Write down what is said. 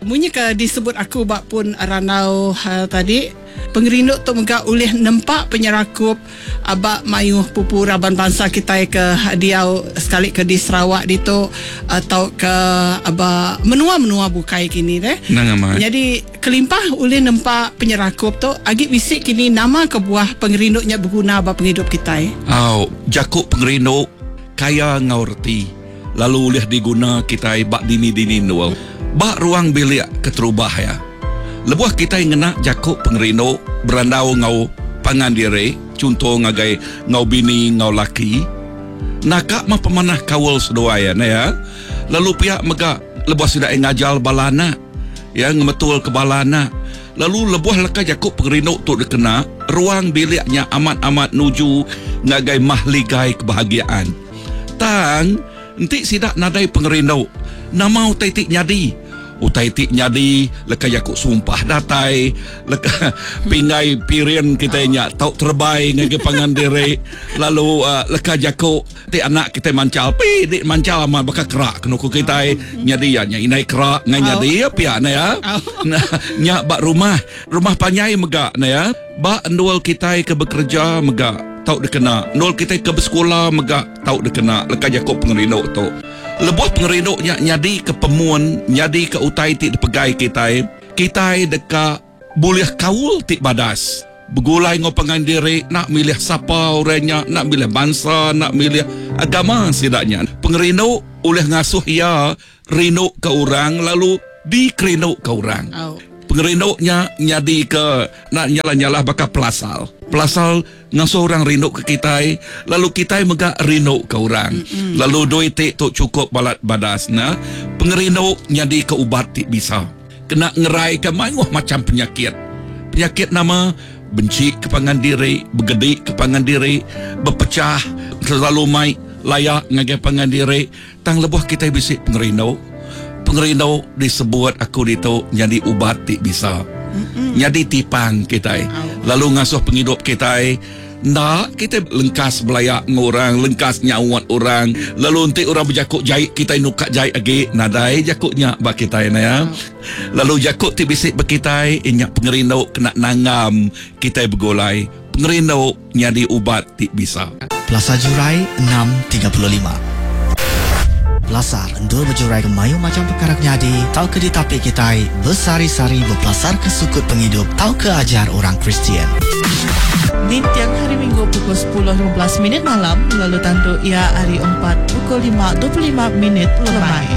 Munyi ke disebut aku ba pun randau tadi, pengerindu tu mega ulih nempa penyerakup ba mayuh pupu raban bansa kitai ke diau sekali ke di Sarawak ditu tauka ba menua-menua bukai kini deh. Endang amat. Nyadi kelimpah ulih nempa penyerakup tu agi bisi kini nama kebuah pengerindu nya beguna ba pengidup kitai. Au, jaku pengerindu kaya enggau reti. Lalu ulih diguna kitai ba dini-dini endur. Ba ruang bilik keterubah iya, lebuh kitai ngena jaku pengerindu berandau enggau pangan diri, chunto ngagai enggau bini enggau laki, naka meh pemanah kaul seduai iya neh iya. Lalu pia mega lebuh sida iya ngajar bala anak, iya ngemetulka bala anak. Lalu lebuh leka jaku pengerindu tu dikena, ruang bilik nya amat-amat nuju ngagai mahligai kebahagiaan. Tang, enti sida nadai pengerindu, nama utai ti nyadi? Utai ti nyadi leka jaku sumpah datai, leka pinggai piring kitai nya tau terebai ngagai pangan diri, lalu leka jaku ti anak kitai manchal, pi di manchal amat baka kerak kenu ku kitai nyadi iya nya indai kerak ngai nyadi iya pia ne ya. Nya ba rumah, rumah panjai mega ne ya. Ba endur kitai ke bekereja mega tau dikena, endur kitai ke besekula mega tau dikena leka jaku pengerindu tu. Lebuh pengerindu nya nyadika pemun, nyadika utai ti dipegai kitai, kitai deka bulih kaul ti badas begulai enggau pangan diri enda milih sapa orang nya, enda milih bansa, enda milih agama sida nya. Pengerindu ulih ngasuh iya rinduka orang lalu dikerinduka orang. Pengerindu nya nyadika enda nyalah-nyalah baka pelasar. Pelasar ngasuh orang rinduka kitai lalu kitai mega rinduka orang. Lalu dua iti tu chukup balat badas ne. Pengerindu nyadika ubat ti bisa kena ngeraika mayuh macham penyakit. Penyakit nama? Benci ke pangan diri, begedi ke pangan diri, bepechah, selalu mai laya ngagai pangan diri. Tang lebuh kitai bisi pengerindu, pengerindu disebut aku ditu nyadi ubat ti bisa. Nyadi tipang kitai lalu ngasuh pengidup kitai enda kitai lengkas belaya enggau orang, lengkas nyaut orang, lalu enti orang bejaku jai kitai nuka jai agi nadai jaku nya ba kitai ne ya. Lalu jaku ti bisi ba kitai inya pengerindu kena nanggam kitai begulai. Pengerindu nyadi ubat ti bisa. Pelasar Jurai 6:35. Pelasar endur bejuraika mayuh macham pekara ke nyadi tauka ditapi kitai besehari-sehari bepelasarka sukut pengidup tauka ajar orang Kristian. Ninting Hari Minggu pukul 10:15 minit malam lalu tandu iya hari Empat pukul 5:25 minit lemai.